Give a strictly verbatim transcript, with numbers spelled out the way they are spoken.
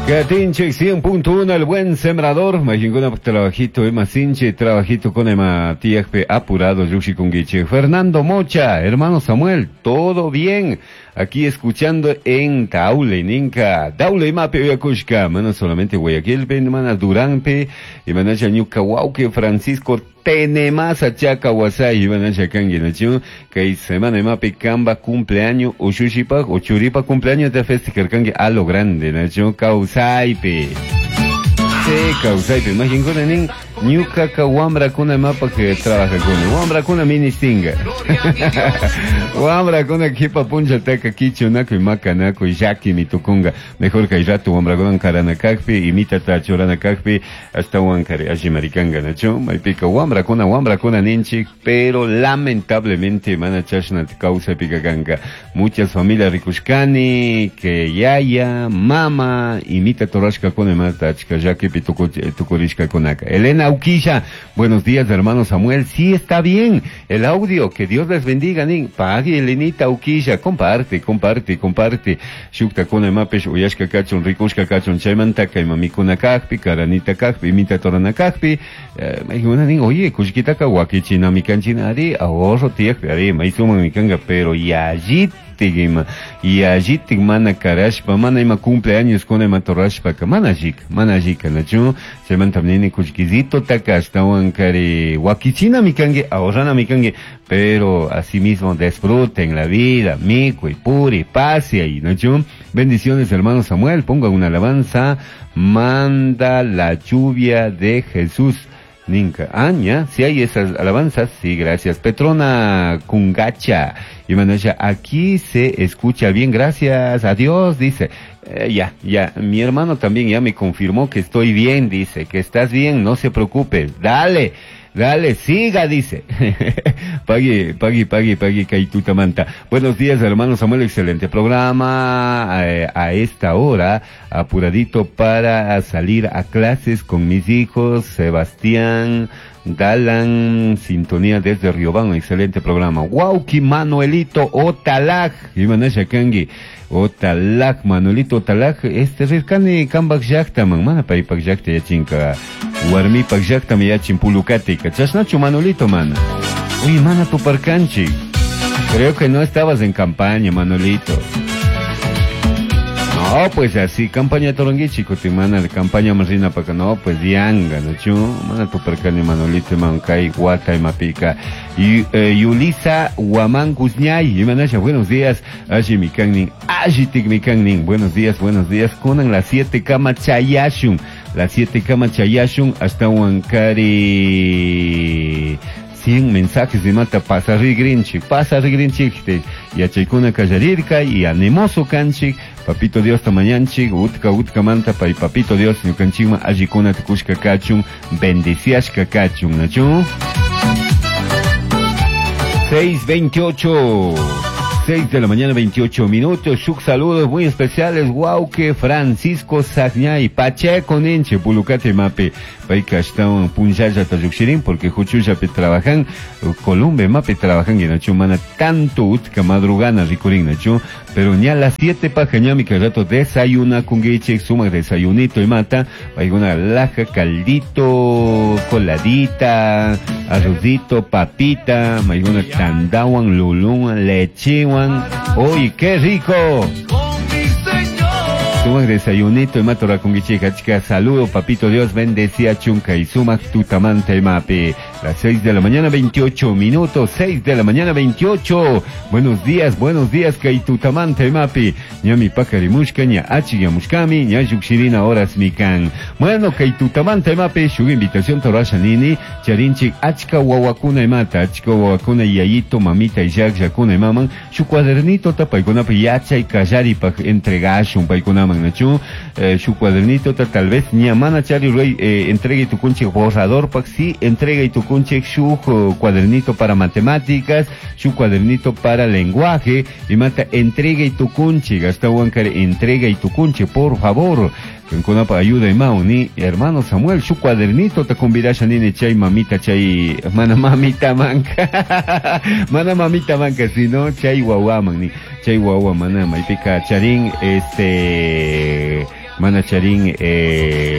Katinchik cien punto uno, El Buen Sembrador. Majinkuna trabajito, ema sinche, trabajito con ema tiakpe apurado, llukshikunguichik. Fernando Mocha: "Hermano Samuel, todo bien. Aquí escuchando en Taule, ninka. Daule mape uyakushka, mana solamente Guayaquil, mana Duranpe, y mana ñuka wauki Francisco Tenemasa chaka wasay, y mana kangi nachu, kay semana mape kamba cumpleaños, ushushipa, o churipa cumpleaños de festejarkangi a lo grande, nachu, kawsaypi. Sí, kawsaypi, majinkuna nin, ñukaka wambrakuna mapa que trabajakuni, wambrakuna ministinga. Wambrakuna kipa punchataka kichunakuy makanakuy llakimi tukunga. Mejor kay rato wambrakunan karana kakpi, imitata churana kakpi, ashtawan kari allimarikanga, nachu? Maypika wambrakuna, wambrakuna ninchik, pero lamentablemente mana chashna kawsaypika kanka. Muchas familias rikushkani, que yaya, mama, imita rurashkakuna imata achka llakipi tukurishkakunaka. Elena Uquilla: "Buenos días, hermano Samuel, sí está bien el audio, que Dios les bendiga", nin. Pagui, Elenita Uquilla, comparte, comparte, comparte. Shuktakuna imapish uyashka kachun, rikushka kachun, chaymantaka ima mikuna kakpi, karanita kakpi, imita rurana kakpi, eh, nin, oye, kullkitaka wakichinami kanchina, ari, ahorro tiyakpi, ari, maysuman kanka, pero yallitik ima, yallitik mana karashpa, mana ima cumpleaños kuna ima rurashpaka, mana allika, mana allika, nachu? Chaymanta nini kullkisito taka ashtawan kari wakichinami kanki, ahorranami kanki, pero asimismo disfruten la vida, mikuy, puri, pase ahí, nachu? "Bendiciones, hermano Samuel, ponga una alabanza, Manda la lluvia de Jesús", ninka. Ah, ya, si hay esas alabanzas, sí, gracias. Petrona Kungacha. Y Manasha: "Aquí se escucha bien, gracias a Dios", dice. Eh, ya, ya, mi hermano también ya me confirmó que estoy bien, dice, que estás bien, no se preocupe, dale. Dale, siga, dice. Pagui, pagui, pagui, pagui, manta. "Buenos días, hermano Samuel, excelente programa. Eh, a esta hora, apuradito para salir a clases con mis hijos, Sebastián, Dalan, sintonía desde Riobamba, excelente programa". Wauki Manuelito Otalaj, Imanasha kangi. Otalaj, Manuelito Otalaj, este rirkani kambak llaktaman, mana paypak llakta yachinka, warmipak llaktami yachin Pulucatica. Chashnachu, Manuelito, mana? Uy, mana tuparkanchik. Creo que no estabas en campaña, Manuelito. No, pues así, campaña toronguichi, mana, campaña marina pa no, pues yanga, no chu, mana tuparkani Manolito, man kay wata imapika. Y eh, Yulisa Huamán Guzñay, imanasha: "Buenos días, alli mikan", allitik mikan, "Buenos días, buenos días, kunan las siete kama chayashun, las siete kama chayashun, hasta Huancari cien mensajes de mata pasa rigrinchik, pasa rigrinchik, yachaykuna kallarirka y animoso kanchik, papito Dios tamañanchik, utka utka manta pay papito Dios ñukanchikman allikuna tukushka kachun, bendiciashka kachun, nachu? seis veintiocho. seis de la mañana, veintiocho minutos. Shuk saludos muy especiales. Wauki Francisco Sagñay Pacheco ninche Pulucate mape. Payka ashtawan punllallata llukshirin porque huchullapi trabajan. Columbe mapi trabajan nachu mana tanto utka madrugana rikurin, nachu? Pero ña las siete paja ñami que rato desayuna kunguichik, sumak desayunito y mata. Una laja, caldito, coladita, arrocito, papita, maiguna tandawan, lulun, lechewan. ¡Uy, qué rico! Sumak desayunito y matora kunguichik, chica, saludo, papito Dios bendecía chunka y sumak tutamanta y mapi. Las seis de la mañana, veintiocho minutos, seis de la mañana, veintiocho. Buenos días, buenos días, kay tutamanta y mapi. Ñami pakarimushka, ña achiyamushkami, ña llukshirina horas mikan. Bueno, kay tutamanta y mapi, shuk invitación torasha nini, charinchik achka wawakuna imata, achka wawakuna yayito, mamita y llakllakuna imaman, shuk cuadernito ta paykunapi yachay kallaripaj entregashun paykunaman, nachu? Eh, shuk cuadernito ta tal vez ña mana chari ruay eh, entrega tukunchik borrador pak sí entrega tukunchik shuk cuadernito para matemáticas, shuk cuadernito para lenguaje y mata entrega y tukunchik, hasta wankar entrega y tukunchik, por favor. Kunapa ayuda imau ni hermano Samuel, su cuadernito te convidasha nini chay mamita chay mana mamita manka mana mamita manka sino chay wawaman ni chay wawa mana maypika charin este mana charin eh,